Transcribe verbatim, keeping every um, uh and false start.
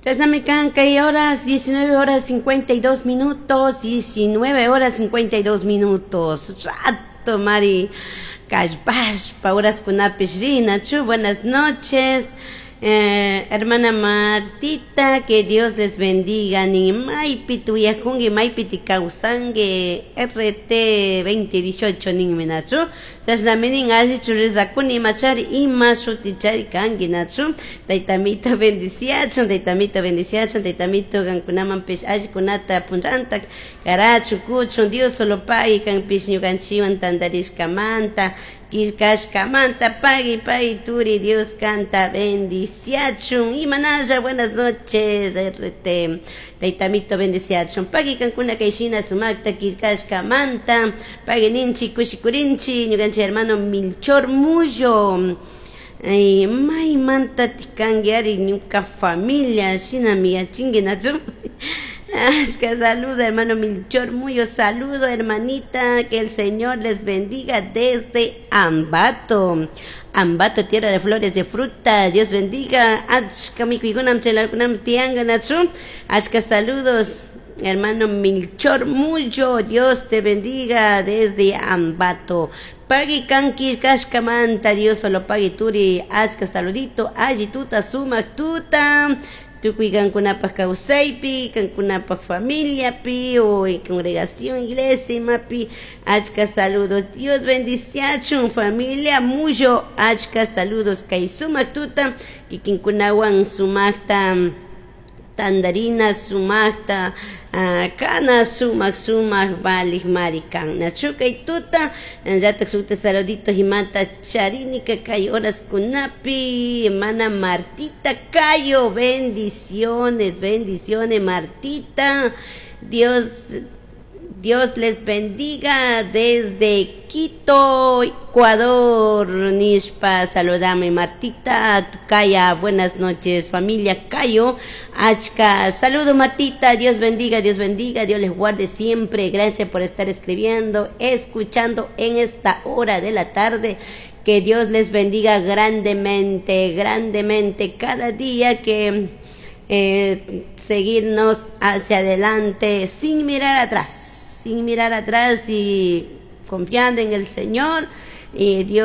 Chashnami kan kay horas diecinueve horas cincuenta y dos minutos, diecinueve horas cincuenta y dos minutos. Rato mari kallpashpa horaskunapish rinachu. Buenas noches. Eh, hermana Martita, que Dios les bendiga. Ni maypi tuyajungi, maypi kawsangi, R T dos mil dieciocho ninmi nachu. Chashnami nin allichu rizakuni machari ima shutichari kanki nachu. Taytamito bendiciachun, taytamito bendiciachun, taytamito kankunamanpish allikunata punllanta karachun kuchun. Dios solo pagui kanpish ñukanchikwan tantarishkamanta killkashkamanta pagui pagui turi. Dios kanta bendiciachun. Imanalla, buenas noches R T, taytamito bendiciachun. Pagui kankuna kayshina sumakta killkashkamanta, pagui ninchi, kushikurinchi. Ñukanchik hermano Milchor Mullo, ay, maymanta kanki ari, ñuka familia shinami yachinki nachu. Ashka saludo, hermano Milchor Muyo. Saludo, hermanita. Que el Señor les bendiga desde Ambato. Ambato, tierra de flores, de fruta. Dios bendiga. Achka mikuykunam chaylarkunam tianga nachu. Achka saludos. Hermano Milchor Muyo, Dios te bendiga desde Ambato. Pagui kanki kashkamanta, Dios solo pagui turi, achka saludito, alli tuta, sumak tuta. Tukuy kankunapaj kawsaypi, kankunapaj familiapi, o congregación, iglesia, imapi, achka saludos. Dios bendiciachun, familia Muyo, achka saludos. Kay sumak tuta, kikinkunawan sumakta tandarina, sumakta uh, kana, sumak sumak valik marikan nachu kay tuta llatak sukta saludito himata charinika kay horas kunapi. Hermana Martita Cayo, bendiciones, bendiciones, Martita. Dios Dios les bendiga desde Quito, Ecuador. Nishpa, saludame Martita Caya. Buenas noches, familia Cayo. Achka, saludo, Martita. Dios bendiga, Dios bendiga, Dios les guarde siempre. Gracias por estar escribiendo, escuchando en esta hora de la tarde. Que Dios les bendiga grandemente, grandemente cada día que eh, seguirnos hacia adelante sin mirar atrás, sin mirar atrás y confiando en el Señor y Dios.